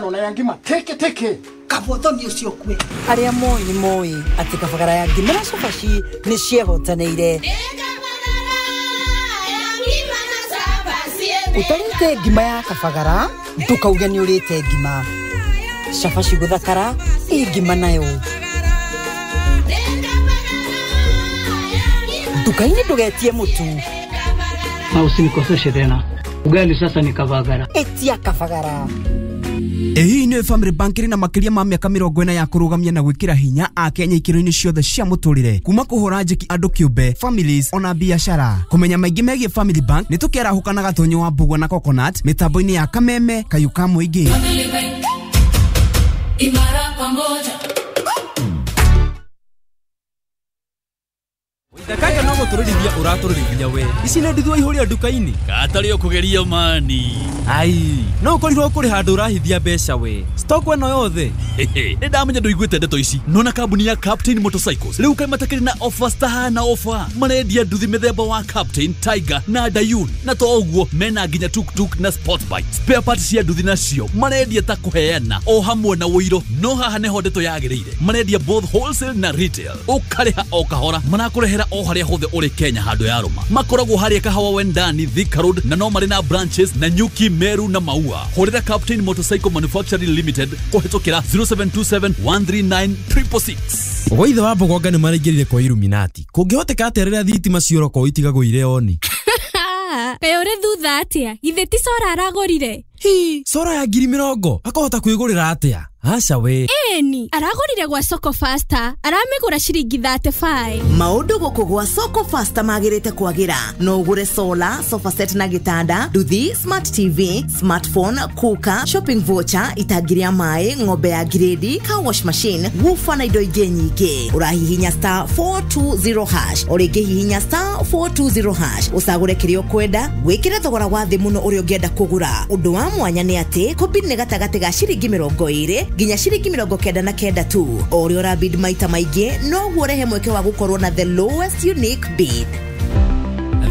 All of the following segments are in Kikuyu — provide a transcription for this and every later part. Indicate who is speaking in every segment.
Speaker 1: Ĩno na ya ngima teke teke.
Speaker 2: Kabotho ni ucio kwe.
Speaker 3: Arĩa moĩ nĩ moĩ atĩ kabagara ya ngima na cabaci nĩ ciehotanĩire. Ũtarĩte ngima ya kabagara ndũkauge nĩ ũrĩte ngima. Cabaci gũthakara ĩ ngima nayo. Nduka-inĩ ndũgetie mũtu.
Speaker 4: Na usinikoseshe tena. Ugali sasa ni kabagara.
Speaker 3: Etia kabagara.
Speaker 5: Ĩhihi nĩ Family Bank ĩrĩ na makĩria ma mĩaka 40 ya kũrũgamia na gwĩkĩra hinya Akenya ikĩro-inĩ ciothe cia mũtũrĩre, kuma kũhũra njeki andũ kĩũmbe, families ona biashara. Kũmenya maingĩ megiĩ Family Bank nĩ tũkĩarahũka na Gatonyo wa Mbugua na Coconut mĩtambo-inĩ ya Kameme Kayũ ka Mũingĩ.
Speaker 6: Imara pamoja.
Speaker 7: Kaka no gũtũrĩrithia ũratũrĩrithia we. Ici nĩ nduthua ihũria nduka-inĩ.
Speaker 8: Katarĩ ũkũgeria mani.
Speaker 7: Ai, no ũkorirwo kũrĩ handũ ũrahithia mbeca we. Stock ĩno yothe.
Speaker 8: Nĩ ndamenya ndũiguĩte ndeto ici. Nona kambuni ya Captain Motorcycles rĩu kaĩ matakĩrĩ na offers tahana offer. Marendia nduthi mĩthemba wa Captain, Tiger na Dayun. Na to ũguo mena nginya tuktuk na sport bike. Spare parts cia nduthi nacio marendia ta kũheana o hamwe na ũiro. No haha nĩho ndeto yagĩrĩire. Marendia both wholesale na retail. Ũkarĩha o kahora. Marakũrehera o harĩa hothe ũrĩ Kenya handũ ya rũma. Makoragwo harĩa Kahawa Wendani, Thika Road, na no marĩ na branches na Nyuki, Meru na Maua. Hũrĩra Captain Motorcycle Manufacturing Limited kũhĩtũkĩra 0727 139 666.
Speaker 7: Gwaithe wa Mbogonga nĩ maraingĩrire kwa Illuminati. Kũngĩhoteka atĩa rĩrĩa thitima ciorokwo itigagwo irĩ oni?
Speaker 9: Kaĩ ũrĩ thutha atĩa? Githĩ ti Sora aragũrire?
Speaker 7: Hi, Sora ya 20,000 akahota kwĩgũrĩra atĩa? Aca we.
Speaker 9: Ĩni, aragũrire gwa Soko Faster, aramĩgũra ciringi 35.
Speaker 10: Maũndũ gũkũ gwa Soko Faster magĩrĩte kwagĩra. No ũgũre solar, sofa set na gĩtanda, nduthi, smart TV, smartphone, cooker, shopping voucher, itangi rĩa maĩ, ng'ombe ya grade, car wash machine, woofer na indo ingĩ nyingĩ. Ũrahihinya star 420 hash, o rĩngĩ hihinya star 420 hash, ũcagũre kĩrĩa ũkwenda, wĩkĩre thogora wa thĩ mũno ũrĩa ũngĩenda kũgũra. Ũndũ wa mwanya nĩ atĩ kũbid nĩ gatagatĩ ga ciringi 20 nginya ciringi 99 tu. O ũrĩa ũrabid maita maingĩ noguo ũrehe mweke wa gũkorwo na the lowest unique bid.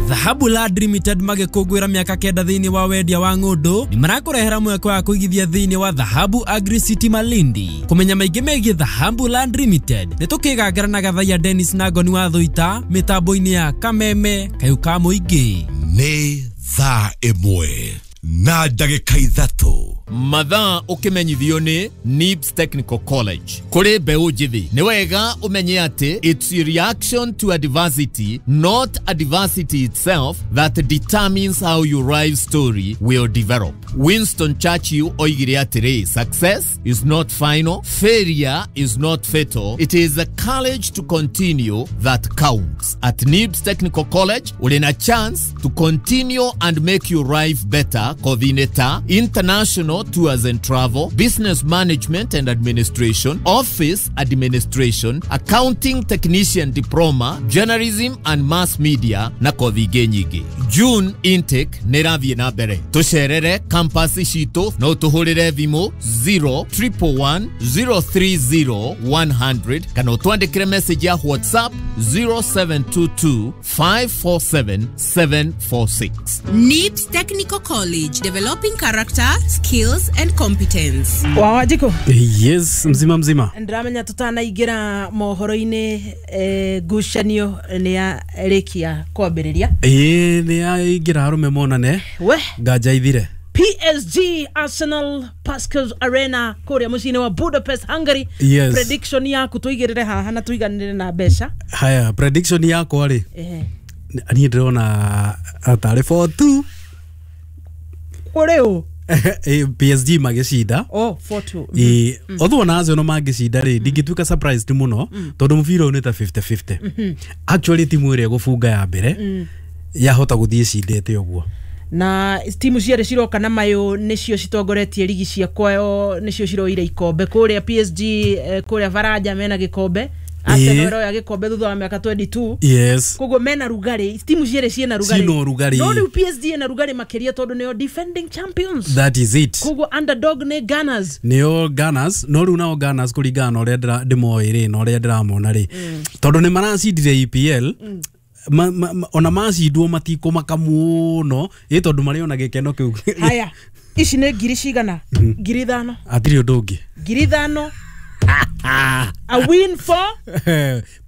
Speaker 7: Dhahabu Land Limited magĩkũngũĩra mĩaka 9 thĩinĩ wa wendia wa ng'ũndũ nĩ marakũrehera mweke wa kũigithia thĩinĩ wa Dhahabu Agri City Malindi. Kũmenya maingĩ megiĩ Dhahabu Land Limited nĩ tũkĩgangara na Gathaiya Dennis na Ngoni wa Thũita mĩtambo-inĩ ya Kameme Kayũ ka Mũingĩ.
Speaker 11: Nĩ thaa 1 na ndagĩka 3.
Speaker 12: Mathaa ũkĩmenyithio nĩ NIBS Technical College. Kũrĩ mbeũ njĩthĩ nĩ wega ũmenye atĩ it's a reaction to adversity, not adversity itself, that determines how your life story will develop. Winston Churchill oigire atĩrĩ, success is not final, failure is not fatal, it is the courage to continue that counts. At NIBS Technical College ũrĩ na chance to continue and make your life better. Coordinator, international tours and travel, business management and administration, office administration, accounting technician diploma, journalism and mass media na kothi ingĩ nyingĩ. June intake nĩ ĩrathiĩ na mbere. Tũcerere campus citũ no tũhũrĩre thimũ 0 111 030 100 kana ũtwandĩkĩre message ya WhatsApp 0722 547 746.
Speaker 13: NIBS Technical College, developing character, skills and competence.
Speaker 14: Wa Wanjikũ.
Speaker 15: Yes, mzima mzima.
Speaker 14: Ndĩramenya tũtanaingĩra mohoro-inĩ, ngucanio nĩ ya rĩkia kwambĩrĩria.
Speaker 15: Ĩĩ, nĩ yaingĩra arũme monane.
Speaker 14: We
Speaker 15: nganja ithire.
Speaker 14: PSG Arsenal, Puskás Arena kũrĩa mũciĩ-inĩ wa Budapest, Hungary.
Speaker 15: Yes.
Speaker 14: Prediction yaku tũigĩrĩre haha na tũiganĩre na mbeca.
Speaker 15: Haya, prediction yakwa rĩ, niĩ ndĩrona tarĩ 4-2.
Speaker 14: Kũrĩ ũ?
Speaker 15: PSG magĩcinda.
Speaker 14: Oh, 4-2.
Speaker 15: Ĩĩ, although ona Arsenal mangĩcinda rĩ, ndingĩtuĩka surprised mũno tondũ mũbira ũyũ nĩ ta 50-50. Actually timu ĩrĩa ĩgũbunga ya mbere yahota gũthiĩ ĩcindĩte ũguo.
Speaker 14: Na timu cierĩ ciroka na mayũ nĩcio citongoretie rigi cia kwao, nĩcio ciroire ikombe kũrĩa PSG, kũrĩa Baranja mena gĩkombe, Arsenal ĩroya gĩkombe thutha wa mĩaka 22. Koguo mena rugarĩ, timu cierĩ ciĩna rugarĩ.
Speaker 15: Ciĩna ũrugarĩ.
Speaker 14: No rĩu PSG ĩna rugarĩ makĩria tondũ nĩo defending champions.
Speaker 15: That is it.
Speaker 14: Koguo underdog nĩ Gunners.
Speaker 15: Nĩo Gunners, no rĩu nao Gunners kũringana na ũrĩa ndĩmoĩ rĩ na ũrĩa ndĩramona rĩ, tondũ nĩ maracindire EPL, ona macindwo matikũmaka mũno ĩ tondũ marĩ ona gĩkeno kĩu.
Speaker 14: Haya. Ici nĩ ngiri cigana? 5,000.
Speaker 15: Hatirĩ ũndũ ũngĩ.
Speaker 14: 5,000. A win for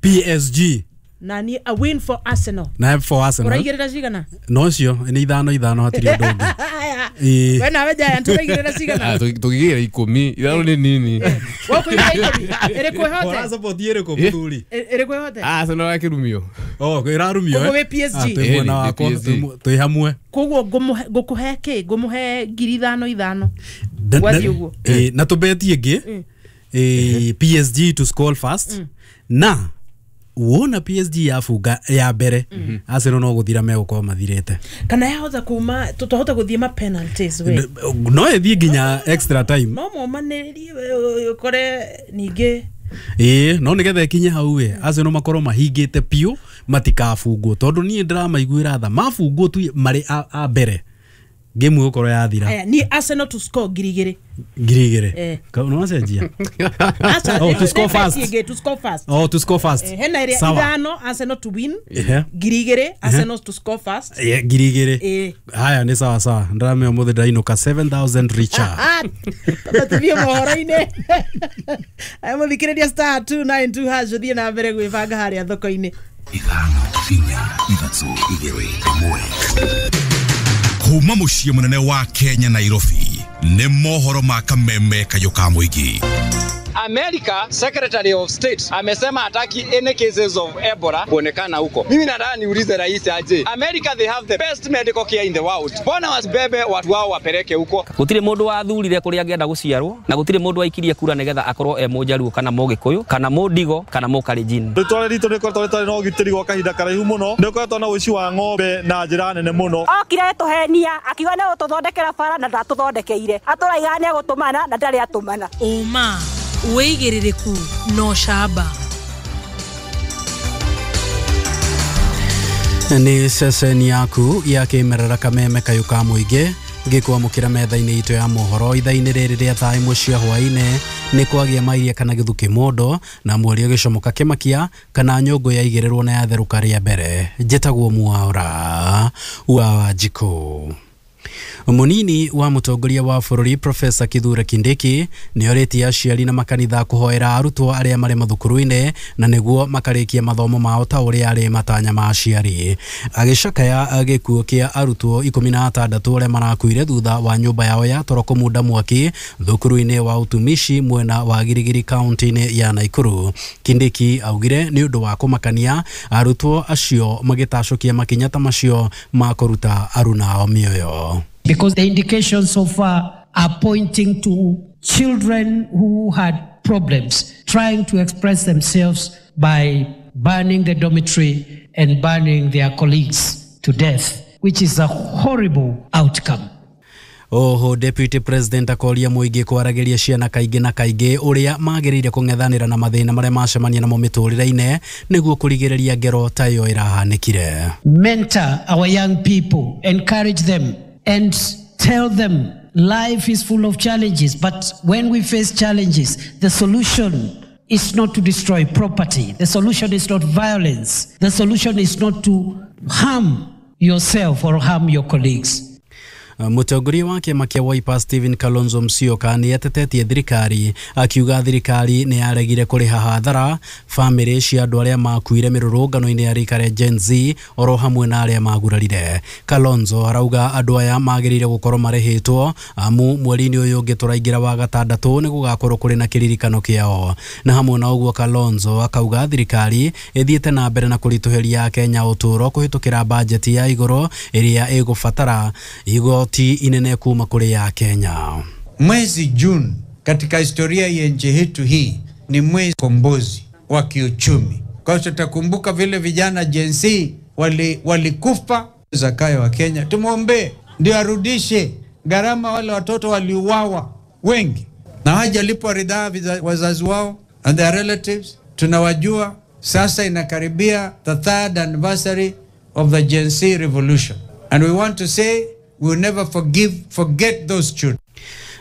Speaker 15: PSG.
Speaker 14: Na ni a win for Arsenal.
Speaker 15: Na for Arsenal.
Speaker 14: Ũraigĩrĩra cigana?
Speaker 15: No cio nĩ 5 5 hatirĩ ũndũ ũngĩ.
Speaker 14: We nawe Giant ũraigĩrĩra cigana?
Speaker 1: Tũkĩgĩra 10 ithano nĩ nini.
Speaker 14: Wokũigĩrĩra 10 ĩrĩkũ ĩhote?
Speaker 15: Ũra support ĩrĩkũ mũthuri?
Speaker 14: Ĩrĩkũ ĩhote?
Speaker 1: Arsenal yakĩrumio.
Speaker 15: Oh, ĩrarumio.
Speaker 14: Koguo wĩ PSG.
Speaker 15: Twĩ mwena wakwa twĩ hamwe.
Speaker 14: Koguo ngũkũhe kĩ? Ngũmũhe 5,000 5,000. Gwathiĩ ũguo.
Speaker 15: Na tũbeti ĩngĩ PSG to score first na wona PSG yafunga ya mbere Arsenal no guthira megũkorwo mathirĩte.
Speaker 14: Kana yahota kuma tutahota guthie ma penalties we.
Speaker 15: No ĩthiĩ nginya extra time.
Speaker 14: No momanĩrie ũkore ningĩ.
Speaker 15: Ĩĩ no nĩgetha ĩkinye hau we Arsenal makorwo mahingĩte piũ matikabungwo tondũ niĩ ndĩramaiguĩra tha mabungwo tu marĩ a mbere game gũkorwo yathira.
Speaker 14: Aya ni Arsenal to score 2,000.
Speaker 15: 2,000. No wacenjia. Oh, to score first.
Speaker 14: To score first.
Speaker 15: Oh, to score first.
Speaker 14: Hena ĩrĩa 5 Arsenal to win. 2,000 Arsenal to score first.
Speaker 15: 2,000. Haya nĩ sawa sawa. Ndĩramenya ũmũthĩ ndainũka 7,000 richer.
Speaker 14: Tũthiĩ mohoro-inĩ. Aya mũthikĩrĩria star 292 hash ũthiĩ na mbere gwĩbanga harĩa thoko-inĩ.
Speaker 11: 5 4 3 2 1. Kuma muciĩ mũnene wa Kenya Nairobi nĩ mohoro ma kameme kayũ ka mũingĩ.
Speaker 2: America Secretary of State amesema hataki any cases of Ebola kuonekana huko. Mimi nataka niulize rais aje. America, they have the best medical care in the world. Mbona wasibebe watu wao wapeleke huko?
Speaker 6: Gutire mundu wathurire kuria angĩenda guciarwo na gutire mundu waikirie kura nigetha akorwo e Mũjaluo kana Mũgĩkũyũ kana Mũndigo kana Mũkalenjin.
Speaker 16: Rĩtwa ritũ rĩkoretwo rĩtarĩ na ũgitĩri gwa kahinda karaihu mũno. Nĩ ũkoretwo na ũici wa ng'ombe na njĩra nene mũno.
Speaker 17: Okire tũhenia akiuga nĩ gũtũthondekera bara na ndatũthondekeire. Atũraiga nĩ egũtũmana na ndarĩ atũmana.
Speaker 13: Ũma wĩigĩrĩrĩku no camba.
Speaker 15: Nĩ ceceni yaku ya kĩmerera kameme kayũ ka mũingĩ ngĩkwamũkĩra metha-inĩ itũ ya mohoro ithaa-inĩ rĩrĩ rĩa thaa 1 cia hwaĩ-inĩ nĩ kwagĩa mairia kana gĩthukĩ mũndũ na mweri ũgĩcomoka kĩmakia kana nyũngũ yaigĩrĩrwo na yatherũka rĩa mbere. Njĩtagwo Mwaura wa Wanjikũ. Munini wa mũtongoria wa bũrũri Professor Kithure Kindiki nĩorĩtie aciari na makanitha kũhoera arutwo arĩa marĩ mathukuru-inĩ na nĩguo makarĩkia mathomo mao ta ũrĩa arĩ matanya ma aciari. Agĩcakaya gĩkuũ kĩa arutwo 16 arĩa marakuire thutha wa nyũmba yao ya toro kũmunda mwaki thukuru-inĩ wa utumishi mwena wa Girigiri kaunti-inĩ ya Nakuru. Kindiki augire nĩ ũndũ wa kũmakania arutwo acio magĩtacũkia makinya ta macio ma kũruta arunao mĩoyo.
Speaker 18: Because the indications so far are pointing to children who had problems trying to express themselves by burning the dormitory and burning their colleagues to death, which is a horrible outcome.
Speaker 15: Oho Deputy President akoria mũingĩ kwaragĩria ciana kaingĩ na kaingĩ ũrĩa magĩrĩire kũng'ethanĩra na mathĩna marĩa macemania namo mĩtũrĩre-inĩ nĩguo kũrigĩrĩria ngero ta ĩyo ĩrahanĩkire.
Speaker 18: Mentor our young people, encourage them and tell them life is full of challenges, but when we face challenges, the solution is not to destroy property. The solution is not violence. The solution is not to harm yourself or harm your colleagues.
Speaker 15: Mũtongoria wa kĩama kĩa Wiper Stephen Kalonzo Musyoka nĩ atetetie thirikari akiuga thirikari nĩ yaregire kũrĩha hathara bamĩrĩ cia andũ arĩa makuire mĩrũrũngano-inĩ ya rika rĩa Gen Z oro hamwe na arĩa magurarire. Kalonzo arauga andũ aya magĩrĩire gũkorwo marĩhĩtwo amu mweri-inĩ ũyũ ũngĩ tũraingĩra wa gatandatũ nĩ gũgakorwo kũrĩ na kĩririkano kĩao. Na hamwe na ũguo Kalonzo akauga thirikari ĩthiĩte na mbere na kũritũhĩria Kenya ũtũũro kũhĩtũkĩra bajeti ya igũrũ ĩrĩa ĩgũbatara igoti inene kuma kule ya Kenya.
Speaker 19: Mwezi Juni katika historia ya nchi yetu hii ni mwezi kombozi wa kiuchumi. Kwa hiyo tutakumbuka vile vijana Gen Z walikufa. Zakayo wa Kenya tumuombe ndio arudishe gharama wale watoto waliuawa wengi na hawajalipwa ridhaa wazazi wao and their relatives. Tunawajua sasa inakaribia the third anniversary of the Gen Z revolution, and we want to say we will never forget those children.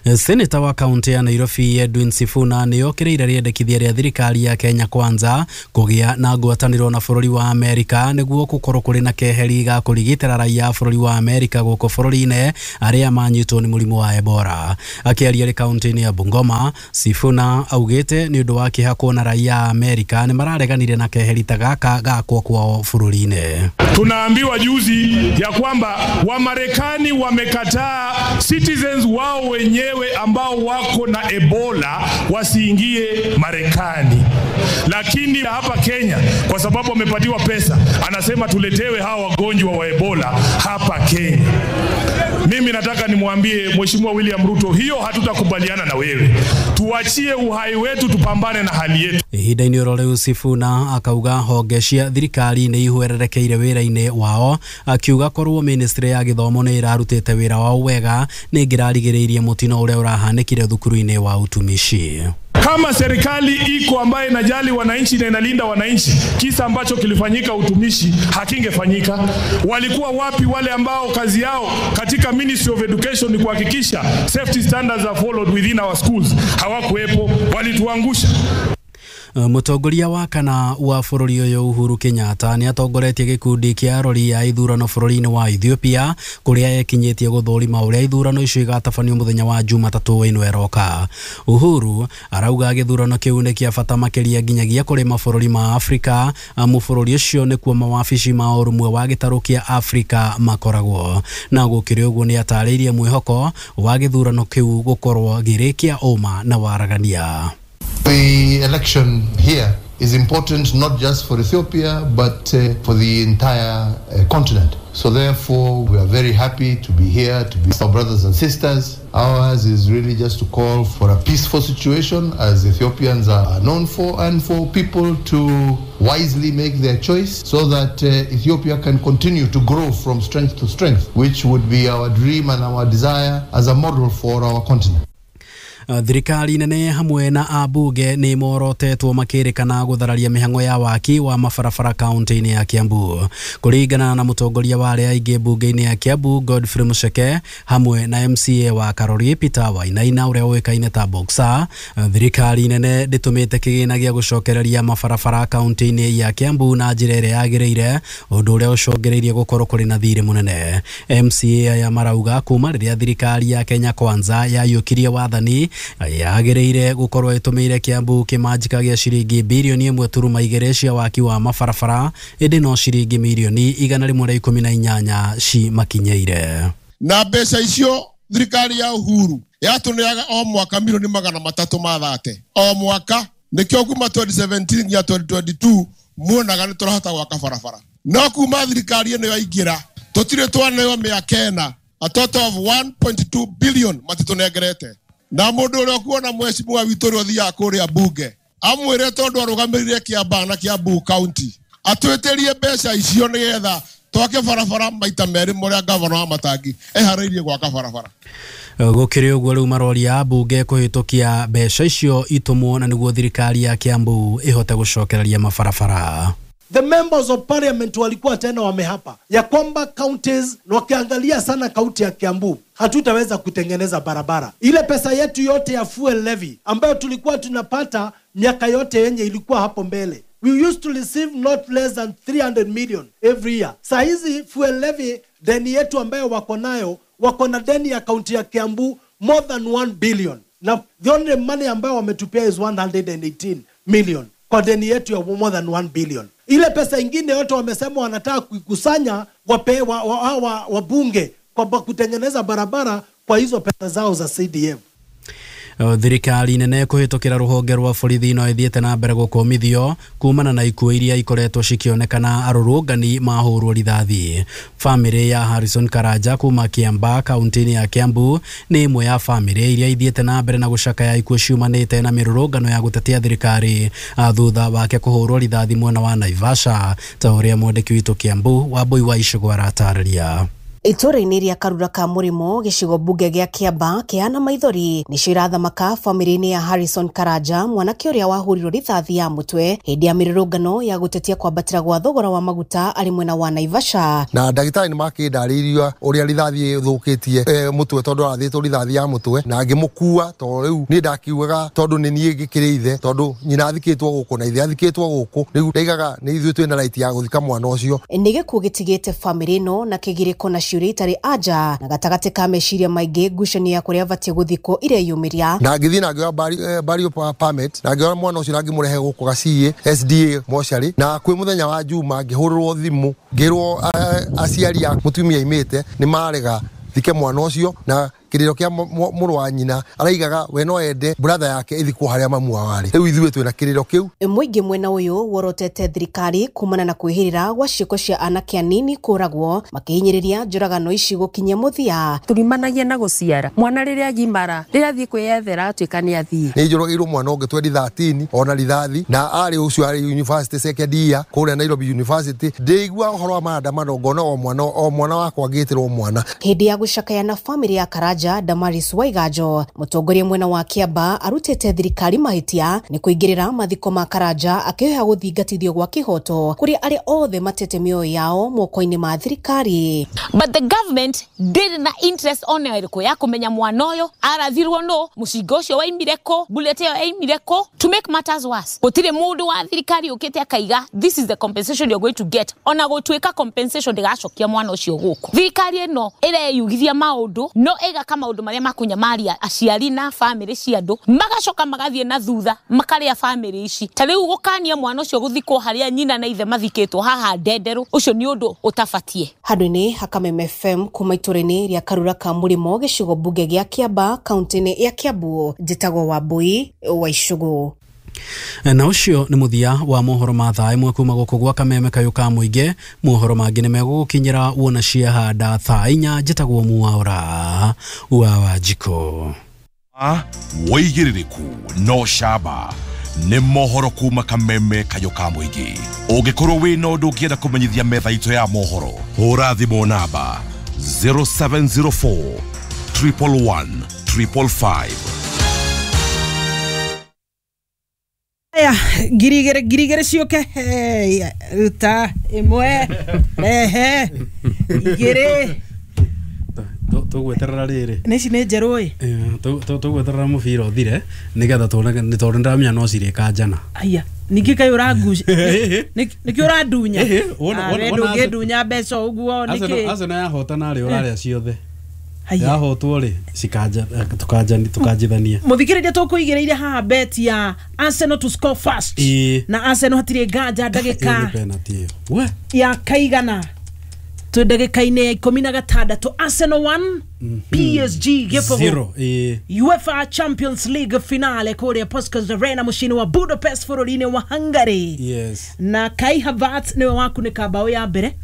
Speaker 15: Seneta wa kaunti ya Nairobi Edwin Sifuna nĩokĩrĩire rĩendekithia rĩa thirikari ya Kenya Kwanza kũgĩa na ngwatanĩro na bũrũri wa Amerika nĩguo gũkorwo kũrĩ na keheri ga kũrigitĩra raia a bũrũri wa Amerika gũkũ bũrũri-inĩ arĩa manyitwo nĩ mũrimũ wa Ebola. Akĩaria arĩ kaunti-inĩ ya Bungoma, Sifuna augĩte nĩ ũndũ wa kĩeha kuona raia a Amerika nĩ marareganire na keheri ta gaka gakwo kwao bũrũri-inĩ.
Speaker 20: Tunaambiwa juzi ya kwamba Wamarekani wamekataa citizens wao wenyewe ambao wako na Ebola wasiingie Marekani, lakini hapa Kenya kwa sababu wamepatiwa pesa, anasema tuletewe hawa wagonjwa wa Ebola hapa Kenya. Mimi nataka nimwambie Mheshimiwa William Ruto, hiyo hatutakubaliana na wewe. Tuachie uhai wetu, tupambane na hali yetu.
Speaker 15: Ihinda-inĩ oro rĩu Sifuna akauga honge cia thirikari nĩ ihwererekeire wĩra-inĩ wao, akiuga korwo ministry ya gĩthomo nĩ ĩrarutĩte wĩra wao wega nĩ ĩngĩrarigĩrĩirie mũtino ũrĩa ũrahanĩkire thukuru-inĩ wa utumishi.
Speaker 20: Kama serikali iko ambaye inajali wananchi na inalinda wananchi, kisa ambacho kilifanyika utumishi hakingefanyika. Walikuwa wapi wale ambao kazi yao katika Ministry of Education ni kuhakikisha safety standards are followed within our schools? Hawakuwepo, walituangusha.
Speaker 15: Mũtongoria wa kana wa bũrũri ũyũ Uhuru Kenyatta nĩ atongoretie gĩkundi kĩa arori a ithurano bũrũri-inĩ wa Ethiopia kũrĩa ekinyĩtie gũthũrima ũrĩa ithurano icio igatabanio mũthenya wa Jumatatũ ĩno ĩroka. Uhuru arauga gĩthurano kĩu nĩ kĩa bata makĩria nginyagia kũrĩ mabũrũri ma Afrika, amu bũrũri ũcio nĩkuo mawabici ma ũrũmwe wa gĩtarũ kĩa Afrika makoragwo. Na gũkĩrĩ ũguo nĩ atarĩirie mwĩhoko wa gĩthurano kĩu gũkorwo gĩrĩ kĩa ũma na waragania.
Speaker 21: The election here is important not just for Ethiopia but for the entire continent. So therefore we are very happy to be here, to be our brothers and sisters. Ours is really just to call for a peaceful situation, as Ethiopians are known for, and for people to wisely make their choice so that Ethiopia can continue to grow from strength to strength, which would be our dream and our desire as a model for our continent.
Speaker 15: Thirikari nene hamwe na ambunge nĩ morotetwo makĩrĩkana gũthararia mĩhang'o ya waki wa mabarabara kaunti-inĩ ya Kiambu. Kũringana na mũtongoria wa arĩa aingĩ mbunge-inĩ ya Kiambu Godfrey Mucheke hamwe na MCA wa Karori Peter Wainaina ũrĩa ũĩkaine ta Boxer, thirikari nene ndĩtũmĩte kĩgĩna gĩa gũcokereria mabarabara kaunti-inĩ ya Kiambu na njĩra ĩrĩa yagĩrĩire, ũndũ ũrĩa ũcũngĩrĩirie gũkorwo kũrĩ na thirĩ mũnene. MCA aya marauga kuma rĩrĩa thirikari ya Kenya Kwanza yaiyũkirie wathani yagĩrĩire gũkorwo ĩtũmĩire Kiambu kĩmanjĩka gĩa ciringi birioni 1.2 cia waki wa mabarabara, ĩndĩ no ciringi mirioni 118 cimakinyĩire.
Speaker 22: Na mbeca icio thirikari ya Uhuru yatũneaga o mwaka milioni 330 o mwaka, nĩkĩo kuma 2017 nginya 2022 muonaga nĩ tũrahota gwaka barabara. No kuma thirikari ĩno yaingĩra tũtirĩ twaneo mĩaka ĩna, a total of 1.2 billion matitũnengerete. Na mũndũ ũrĩa ũkuona mheshimiwa witũ ũrĩa ũthiaga kũrĩa bunge amwĩre tondũ arũgamĩrĩire Kiambaa na Kiambu County atwĩtĩrie mbeca icio nĩgetha twake barabara maita merĩ mũrĩa gavana wa Matangi eharĩirie gwaka barabara.
Speaker 15: Gũkĩrĩ ũguo rĩu maroria ambunge kũhĩtũkia mbeca icio itũmwo na nĩguo thirikari ya Kiambu ĩhote gũcokereria mabarabara.
Speaker 23: The members of parliament walikuwa tena wamehapa ya kwamba counties, na wakiangalia sana kaunti ya Kiambu hatutaweza kutengeneza barabara. Ile pesa yetu yote ya fuel levy ambayo tulikuwa tunapata miaka yote yenye ilikuwa hapo mbele, we used to receive not less than 300 million every year. Saa hizi fuel levy deni yetu ambayo wako nayo, wako na deni ya kaunti ya Kiambu more than 1 billion. Na the only money ambayo wametupea is 118 million kwa deni yetu ya more than 1 billion. Ile pesa ingine yote wamesema wanataka kuikusanya wape wabunge kwa kutengeneza barabara kwa hizo pesa zao za CDF.
Speaker 15: Thirikari nene kũhĩtũkĩra rũhonge rwa borithi no ĩthiĩte na mbere gũkũmithio kumana na ikuũ iria ikoretwo cikĩonekana arũrũngani mahũrwo rithathi. Bamĩrĩ ya Harrison Karanja kuma Kiambaa kaunti-inĩ ya Kiambu nĩ ĩmwe ya bamĩrĩ iria ithiĩte na mbere na gũcakaya ikuũ ciumanĩte na mĩrũrũngano ya gũtetia thirikari thutha wake kũhũrwo rithathi mwena wa Naivasha, ta ũrĩa mwandĩki witũ Kiambu Wambui wa Icũgũ aratarĩria.
Speaker 3: Itũũra-inĩ rĩa Karura ka Mũrĩmo, gĩcigo mbunge gĩa Kĩamba kĩhana maithori nĩcio irathamaka bamĩrĩ-inĩ ya Harrison Karanja, mwanake ũrĩa wahũrirwo rithathi ya mũtwe hĩndĩ ya mĩrũrũngano ya gũtetia kwambatĩra gwa thogora wa maguta arĩ mwena wa Naivasha.
Speaker 21: Na ndagĩtarĩ nĩ makĩndarĩirie ũrĩa rithathi ĩthũkĩtie mũtwe, tondũ arathĩtwo rithathi ya mũtwe, na ngĩmũkua tondũ rĩu niĩ ndakiugaga tondũ nĩ niĩ ngĩkĩrĩ ithe, tondũ nyina athikĩtwo gũkũ na ithe athikĩtwo gũkũ, rĩu ndaigaga nĩ ithuĩ twĩna right ya gũthika mwana ũcio.
Speaker 3: Nĩ gĩkuũ gĩtigĩte bamĩrĩ ĩno na kĩgirĩko na ciũria itarĩ anja, na gatagatĩ ka meciria maingĩ ngucanio ya kũrĩa abatiĩ gũthikwo ireyumĩria.
Speaker 21: Na ngĩthiĩ na ngĩoya burial permit, na ngĩoya mwana ũcio na ngĩmũrehe gũkũ Gaciĩ SDA mocarĩ, na kwĩ mũthenya wa Juma ngĩhũrĩrwo thimũ ngĩrwo aciari a mũtumia aimĩte nĩ marega thike mwana ũcio, na kĩrĩro kĩa mũrũ wa nyina araigaga we no ende brother yake ĩthikwo harĩa mamu wao arĩ. Rĩu ithuĩ twĩna kĩrĩro kĩu.
Speaker 3: Mũingĩ mwena ũyũ worotete thirikari kumana na kwĩhĩrĩra gwa ciĩko cia anake anini kũragwo makĩhinyĩrĩria njũragano ici gũkinyia mũthia.
Speaker 4: Turimanagia na gũciara mwana rĩrĩa agimara, rĩrĩa athiĩ kwĩyethera atuĩka nĩ athiĩ.
Speaker 21: Nĩ njũragĩirwo mwana ũngĩ 2013 ona rithathi, na arĩ ũcio arĩ university second year kũrĩa Nairobi University. Ndĩigua ũhoro wa maandamano ngona o mwana wakwa ngĩtĩrwo mwana.
Speaker 3: Hĩndĩ ya gũcakaya na bamĩrĩ ya Karanja, Damaris Waiganjo, mũtongoria mwena wa Kĩamba, arutĩte thirikari mahĩtia nĩ kũingĩrĩra mathiko ma Karanja, akĩhoya gũthingatithio gwa kĩhoto kũrĩ arĩa othe matete mĩoyo yao moko-inĩ ma thirikari.
Speaker 5: But the government ndĩrĩ na interest ona ĩrĩkũ ya kũmenya mwana ũyũ arathirwo nũ, mũcinga ũcio waimire kũ, bullet ĩyo yaimire kũ. To make matters worse, gũtirĩ mũndũ wa thirikari ũkĩte akaiga this is the compensation you're going to get. Ona gũtuĩka compensation ndĩgacokia mwana ũcio gũkũ. Thirikari ĩno ĩreyugithia maũndũ no ĩgaka maũndũ marĩa makunyamaria aciari na bamĩrĩ cia andũ, magacoka magathiĩ na thutha makarĩa bamĩrĩ ici. Ta rĩu gũkania mwana ũcio gũthikwo harĩa nyina na ithe mathikĩtwo haha Ndenderũ, ũcio nĩ ũndũ ũtabatie.
Speaker 3: Handũ-inĩ ha Kameme FM kuma itũũra-inĩ rĩa Karura ka Mũrĩmo, gĩcigo mbunge gĩa Kĩamba, kaunti-inĩ ya Kiambu, njĩtagwo Wambui wa Icũgũ.
Speaker 15: Na ũcio nĩ mũthia wa mohoro ma thaa ĩmwe kuma gũkũ gwa Kameme kayũ ka mũingĩ. Mohoro mangĩ nĩ megũgũkinyĩra wona ciahanda thaa 4. Njĩtagwo Mwaura wa Wanjikũ.
Speaker 11: Wĩigĩrĩrĩku no camba nĩ mohoro kuma Kameme kayũ ka mũingĩ. Ũngĩkorwo wĩna ũndũ ũngĩenda kũmenyithia metha itũ ya mohoro, hũra thimũ namba 0704 111 555.
Speaker 14: Aya, ngiri igĩrĩ ciũke. Ruta ĩmwe, rehe igĩrĩ.
Speaker 15: Tũgweterera rĩrĩ.
Speaker 14: Nĩ ici nĩ njerũ ĩ.
Speaker 15: Tũgweterera mũbira ũthire nĩgetha tuone, nĩ tondũ nĩndĩramenya no cirĩkanjana.
Speaker 14: Aya, ningĩ kaĩ ũrangucia nĩkĩ ũrandunya? We ndũngĩndunya mbeca ũguo nĩkĩ?
Speaker 15: Arsenal yahotana rĩ, ũrarĩa ciothe. Yahotwo rĩ, tukanjithania.
Speaker 14: Mũthikĩrĩria, tũkũigĩrĩire haha bet ya Arsenal to score first, na Arsenal hatirĩ nganja ndagĩka ya kaigana twĩ ndagĩka-inĩ ya 16, Arsenal 1 PSG 0, UEFA Champions League finale kũrĩa Puskas Arena mũciĩ-inĩ wa Budapest bũrũri-inĩ wa Hungary. Na Kai Havertz nĩwe wakunĩka mbaũ ya mbere,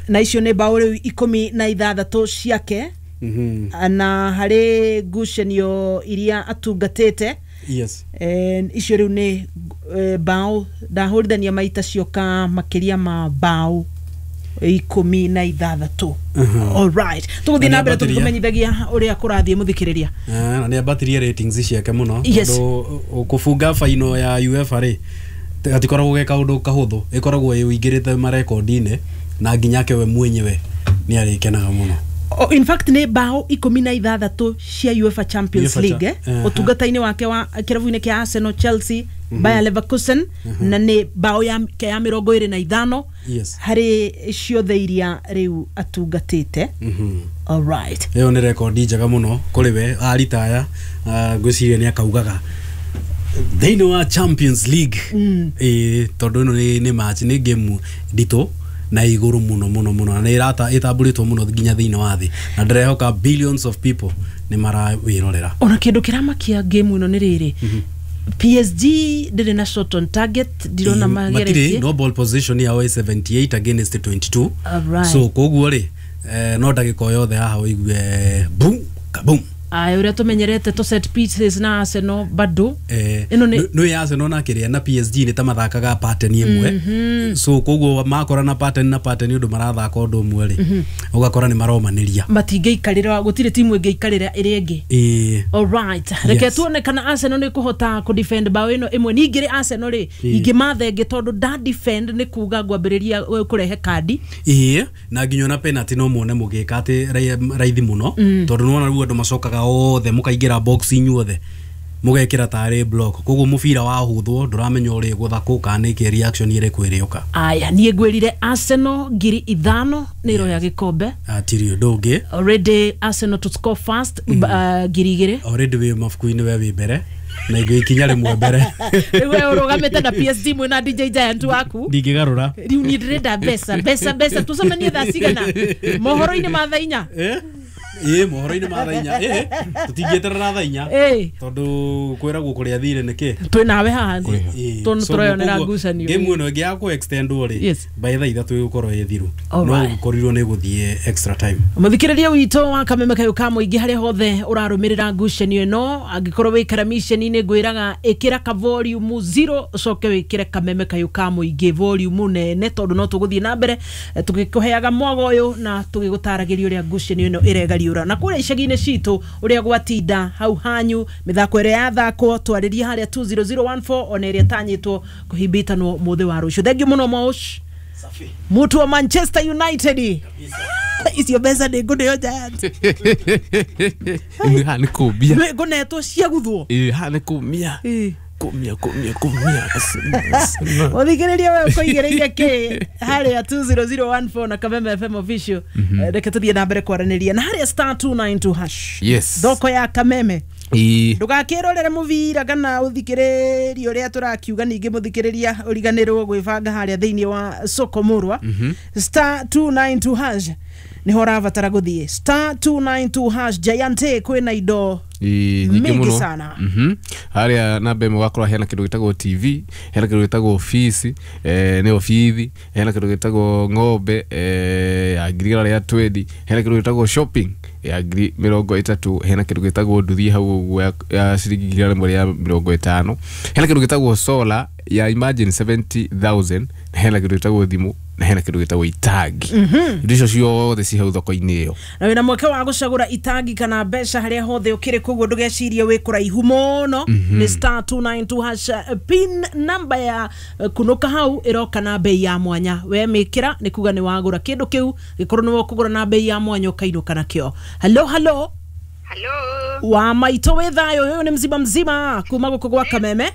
Speaker 14: na icio nĩ mbaũ rĩu 16 ciake, na harĩ ngucanio iria atungatĩte, icio rĩu nĩ mbaũ ndahũrithania maita cioka makĩria ma mbaũ 16. Alright, tũgũthiĩ na mbere tũgĩkũmenyithagia ũrĩa kũrathiĩ, mũthikĩrĩria.
Speaker 15: Na nĩ ambatirie ratings ciake mũno, tondũ kũbunga final ya UEFA rĩ, gatikoragwo ge kaũndũ kahũthũ, ĩkoragwo ĩingĩrĩte marekondi-inĩ, na nginya ake we mwenyewe nĩ arĩkenaga mũno.
Speaker 14: In fact nĩ mbaũ 16 cia UEFA Champions League ũtungata-inĩ wake wa kĩrabu-inĩ kĩa Arsenal, Chelsea, Bayer Leverkusen, na nĩ mbaũ yake ya 25 harĩ ciothe iria rĩu atungatĩte. Alright,
Speaker 15: ĩyo nĩ rekondi njega mũno kũrĩ we aritaya. Ngwĩciria nĩ akaugaga thĩinĩ wa Champions League, tondũ ĩno nĩ match, nĩ game nditũ na igũrũ mũno mũno mũno, na nĩ ĩtambũrĩtwo mũno nginya thĩinĩ wa thĩ, na ndĩrehoka billions of people nĩ marawĩrorera.
Speaker 14: Ona kĩndũ kĩramakia game ĩno nĩ rĩrĩ, PSG ndĩrĩ na shot on target, ndirona mageretie.
Speaker 15: No ball position yao ĩ 78 against 22.
Speaker 14: Alright.
Speaker 15: So koguo rĩ, no ndagĩka o yothe haha ũigue boom kaboom.
Speaker 14: Aya uria tumenyerete to set pieces na Arsenal bado ino ni
Speaker 15: no ya Arsenal na kiria na PSG ni ta mathakaga pattern imwe. So koguo makora na pattern na pattern undu marathaka undu umwe ri ugakora ni maromaniria
Speaker 14: matingeikarira gutire timu ingeikarira iri ingi. All right, reke tuone kana Arsenal ni kuhota ku defend bao ino imwe. Ningiri Arsenal ri ingimathenge tondu da defend ni kuga ngwambiriria kurehe kadi
Speaker 15: na nginya na penalty no muone mugika ati raithi muno tondu nona ruo andu macokaga othe mukaingira box inyuothe mugekira tari block koguo mubira wa huthwo nduramenya uri guthakwo kana niki reaction iri kwiriuka.
Speaker 14: Aya nie ngwirire Arsenal 5,000 ni iroya gikombe
Speaker 15: atiri undu ungi
Speaker 14: already Arsenal to score fast 2,000
Speaker 15: already wi mabuku-ini we wi mbere na ingĩ ikinya rĩmwe mbere.
Speaker 14: Rĩu we ũrũgamĩte na PSG mwĩna DJ Giant waku
Speaker 15: ndingĩgarũra
Speaker 14: rĩu niĩ ndĩrenda mbeca mbeca mbeca tũcemanie thaa cigana mohoro-inĩ ma thaa inya.
Speaker 15: Mohoro-inĩ ma thaa inya tũtingĩeterera thaa inya tondu kwĩragwo kũrĩa thirĩ nĩkĩ
Speaker 14: twĩ nawe haha tondũ tũreyonera ngucanio
Speaker 15: game ĩno ĩngĩ ya kũ extend rĩ by thaa ithatũ ĩgũkorwo ĩ thiru no gũkorirwo nĩ gũthiĩ extra time.
Speaker 14: Mũthikĩrĩria witũ wa Kameme Kayũ ka Mũingĩ harĩa hothe ũrarũmĩrĩra ngucanio ĩno angĩkorwo wĩ karamiceni-inĩ ngwĩraga ĩkĩra ka volume 0 ũcoke wĩkĩre Kameme Kayũ ka Mũingĩ volume nene tondũ no tũgũthiĩ na mbere tũgĩkũheaga mwago ũyũ na tũgĩgũtaragĩria ũrĩa ngucanio ĩno ĩregariũra na kũrĩa icagi-inĩ citũ ũrĩa gwatinda hau hanyu mĩthako ĩrĩa yathakwo twarĩrie harĩa 20014 ona ĩrĩa ĩtanyĩtwo kũhimbitanwo mũthĩ wa rũciũ. Thengiũ mũno Mosh mutu wa Manchester United icio mbeca nĩ ngũneo Giant
Speaker 1: haha nĩ kũmbia
Speaker 14: ngũnetwo cia guthwo
Speaker 1: haha nĩ kũmia kumia
Speaker 14: Mũthikĩrĩria we ũkũigĩrĩire kĩ harĩa 20014 na Kameme FM official. Reke tũthiĩ na mbere kwaranĩria na harĩa star 292 hash.
Speaker 1: Yes.
Speaker 14: Thoko ya Kameme ndũgakĩrorere mũbira kana ũthikĩrĩrie ũrĩa tũrakiuga ningĩ mũthikĩrĩria ũriganĩrwo gwĩbanga harĩa thĩinĩ wa soko mũrwa. Star 292 hash niho ũrabatara gũthiĩ star 292 hash. Giant kwĩna indo
Speaker 1: nyingĩ mũno
Speaker 14: sana.
Speaker 1: Harĩa namba ĩmwe ũgakora hena kĩndũ gĩtagwo TV, hena kĩndũ gĩtagwo fees, nĩyo bithi, hena kĩndũ gĩtagwo ng'ombe ya 120,000, hena kĩndũ gĩtagwo shopping ya 30,000, hena kĩndũ gĩtagwo nduthi hau ũguo ya ciringi 150,000, hena kĩndũ gĩtagwo solar ya imagine 70,000, hena kĩndũ gĩtagwo thimũ na hena kĩndũ gĩtagwo itangi. Indo icio ciothe ci hau thoko-inĩ ĩyo
Speaker 14: na wĩna mweke wa gũcagũra itangi kana mbeca harĩa hothe ũkĩrĩ koguo ndũgecirie wĩ kũraihu mũno. Nĩ star 292 hash pin number ya kunũka hau ĩroka na bei ya mwanya we mĩkĩra nĩ kuga nĩ wagũra kĩndũ kĩu gĩkorwo nĩ ũkũgũra na bei ya mwanya ũkainũka nakĩo. Hello hello
Speaker 8: hello
Speaker 14: wa maitũ wĩ thayũ ũyũ nĩ mzima mzima kuma gũkũ gwa Kameme.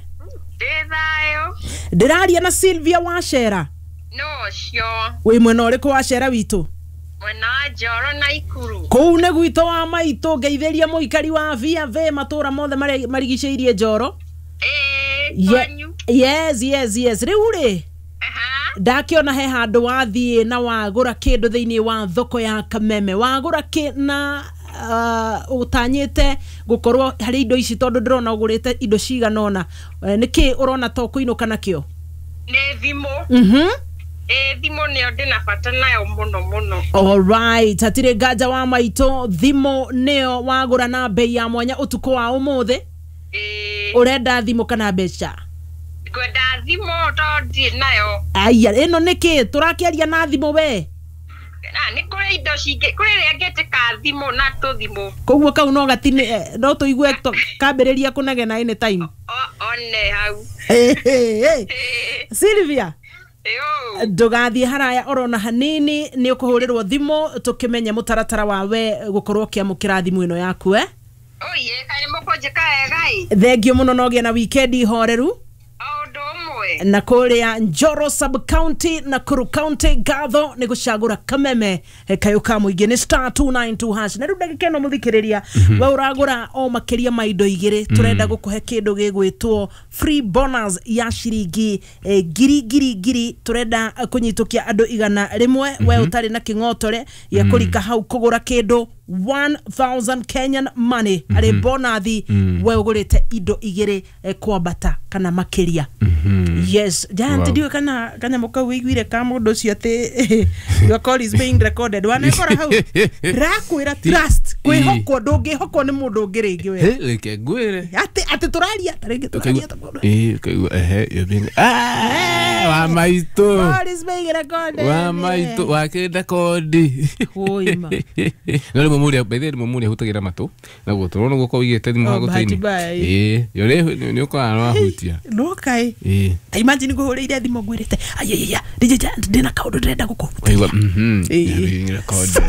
Speaker 8: Ndĩ thayũ
Speaker 14: ndĩraria na Sylvia Wachera.
Speaker 8: No cio
Speaker 14: wĩ mwena ũrĩkũ wa Cera witũ?
Speaker 8: Mwena wa Njoro na Ikuru
Speaker 14: kũu nĩ gwitũ wa maitũ. Ngeithĩria mũikari wa VV matũra mothe marĩa marigicĩirie Njoro. Yes yes yes. Rĩu rĩ ndakĩona he handũ wathiĩ na wagũra kĩndũ thĩinĩ wa thoko ya Kameme wagũra kĩ na ũtanyĩte gũkorwo harĩ indo ici tondũ ndĩrona ũgũrĩte indo cigana ũna nĩkĩ ũrona to kũinũka nakĩo?
Speaker 8: Nĩ thimũ. Thimũ nĩyo ndĩna bata nayo mũno mũno.
Speaker 14: All right, hatirĩ nganja wa maitũ thimũ nĩyo wagũra na bei ya mwanya ũtukũ wa ũmũthĩ. Ũrenda thimũ kana mbeca?
Speaker 8: Ngwenda thimũ tondũ ndirĩ nayo.
Speaker 14: Aya ĩno nĩkĩ tũrakĩaria na thimũ we?
Speaker 8: Na nĩ kũrĩ indo cingĩ kũrĩ ĩrĩa ngĩtĩka thimũ na tũthimũ
Speaker 14: koguo kau no gatini no tũigue kambĩrĩria kũnegena anytime
Speaker 8: one hau.
Speaker 14: Sylvia ndũgathiĩ haraya orona hanini nĩ ũkũhũrĩrwo thimũ tũkĩmenye mũtaratara wawe gũkorwo ũkĩamũkĩra thimũ ĩno yaku.
Speaker 8: Oye kaĩ mũkũnjĩka wega ĩ.
Speaker 14: Thengio mũno na ũgĩe na wikendi horeru na kũrĩa Njoro sub county na Nakuru county ngatho nĩ gũcagũra Kameme Kayũ ka Mũingĩ nĩ star 292 hash. Na rĩu ndagĩka ĩno mũthikĩrĩria we ũragũra o makĩria ma indo igĩrĩ tũrenda gũkũhe kĩndũ gĩgwĩtwo free bonus ya ciringi ngiri ngiri ngiri tũrenda kũnyitũkia andũ 100 we ũtarĩ na kĩng'otore gĩa kũrika hau kũgũra kĩndũ 1000 Kenyan money arĩ bonathi we ũgũrĩte indo igĩrĩ kwambata kana makĩria. Yes, Giant ndiwe kana kanyamũ kau wĩiguire ka mũndũ ũcio atĩ your call is being recorded wanekora hau rakwĩra trust Kwĩhokwo ndũngĩhokwo nĩ mũndũ ũngĩ rĩngĩ we.
Speaker 1: He reke ngwĩre.
Speaker 14: Atĩ tũraria ta rĩngĩ tũraria ta mũndũ.
Speaker 1: Ũkaigua ehe you're being wa maitũ.
Speaker 14: Boris being recorded.
Speaker 1: Wa maitũ wakĩnda kondi.
Speaker 14: Wũima.
Speaker 1: No rĩmwe mũrĩa by the way rĩmwe mũrĩa hutagira matũ na gũtũ no gũkorwo ũigĩte thimũ
Speaker 14: Oh,
Speaker 1: ha
Speaker 14: bahati
Speaker 1: gũtũ-inĩ.
Speaker 14: mbaya,
Speaker 1: Ĩĩ yo nĩ ũkoraga nĩ wahutia.
Speaker 14: No kaĩ.
Speaker 1: Ĩĩ.
Speaker 14: Ta imagine ngũhũrĩire thimũ ngwĩrĩte ayayaya DJ Giant ndĩna kaũndũ ndĩrenda gũkũhutia.
Speaker 1: Ũkaigua you're being recorded.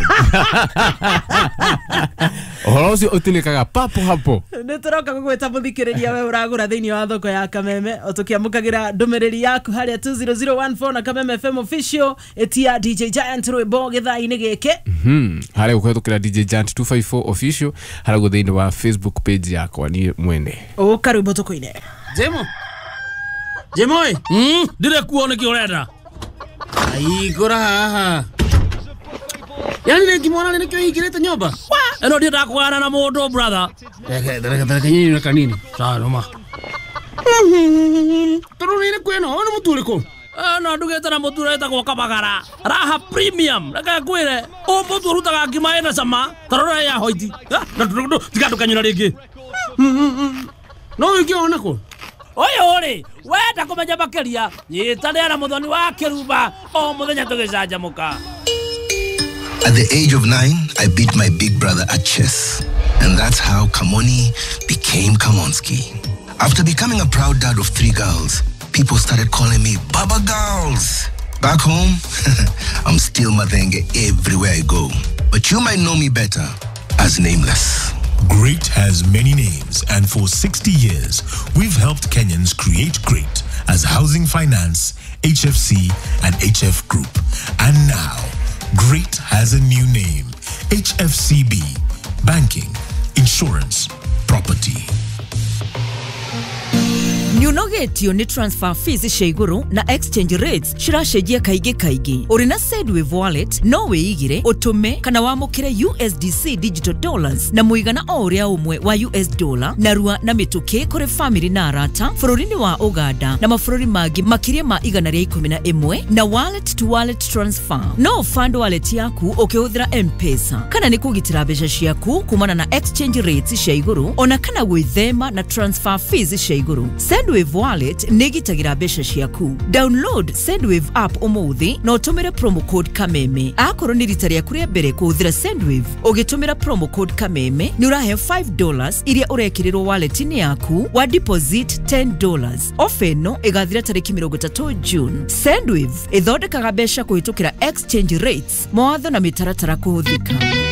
Speaker 1: Ũhoro ũcio ũtinĩkaga papo hapo.
Speaker 14: Nä tå roka gå gwä ta må thikä rä ria we å ragå ra thä inä wa thoko ya Kameme o tå kä amå kagä ra ndå mä rä ri yaku harä a 20014 na Kameme FM official ĩtia DJ Giant rwĩmbo gĩthaa-inĩ gĩkĩ.
Speaker 1: Harĩa gũkũhetũkĩra DJ Giant 254 official harĩa guo thĩinĩ wa Facebook page yakwa niĩ mwene.
Speaker 14: Ũka rwĩmbo tũkũine.
Speaker 7: Jemo. Jemo ĩ. Ndire kuo nĩkĩ ũrenda. Aigũra haha. Yani rĩngĩ mwana nĩkĩo hingĩrĩte nyũmba. Ĩno ndiendaga kũgana na mũndũ brother. Reke nyini na kanini. Sawa noma. Tondũ nĩ kwĩno, ũyũ nĩ mũtu ũrĩkũ? No ndugĩte na mũtu ũretagwo Kabagara. Raha premium. Reke ngwĩre, ũyũ mũtu ũrutaga ngima ĩna cama, ta rora ya hoiti. Tiga ndũkanyũra rĩngĩ. No ũngĩona kũ? Ũyũ rĩ, wenda kũmenya makĩria, nyitanĩra na Mũthoni wa Kĩrumba o mũthenya tũgĩcanjamũka.
Speaker 9: At the age of 9, I beat my big brother at chess. And that's how Kamoni became Kamonski. After becoming a proud dad of 3 girls, people started calling me Baba Girls. Back home, I'm still Mathenge everywhere I go. But you might know me better as Nameless.
Speaker 10: Great has many names, and for 60 years, we've helped Kenyans create great as Housing Finance, HFC, and HF Group. And now, Great has a new name, HFCB, Banking, Insurance, Property.
Speaker 24: Nĩũnogetio nĩ transfer fees cia igũrũ na exchange rates ciracenjia kaingĩ kaingĩ. Ũrĩ na Sendwave wallet no wĩigire, ũtũme kana wamũkĩre USDC digital dollars na mũigana o ũrĩa ũmwe wa US dollar narua na mĩtũkĩ kũrĩ family na arata bũrũri-inĩ wa Uganda na mabũrũri mangĩ makĩria ma 111 na wallet to wallet transfer. No fund wallet yaku ũkĩhũthĩra M-Pesa kana nĩ kũgitĩra mbeca ciaku kumana na exchange rates cia igũrũ ona kana gwĩthema na transfer fees cia igũrũ. Sendwave wallet nĩ ĩgitagĩra mbeca ciaku. Download Sendwave app ũmũthĩ na ũtũmĩre promo code Kameme. Akorwo nĩ rita rĩaku rĩa mbere kũhũthĩra Sendwave, ũgĩtũmĩra promo code Kameme nĩ ũraheo $5 iria ũrekĩrĩrwo wallet-inĩ yaku wa deposit $10. Ofa ĩno ĩgathira tarĩki 30 June. Sendwave ĩthondekaga mbeca kũhĩtũkĩra exchange rates, mawatho na mĩtaratara kũhũthĩka.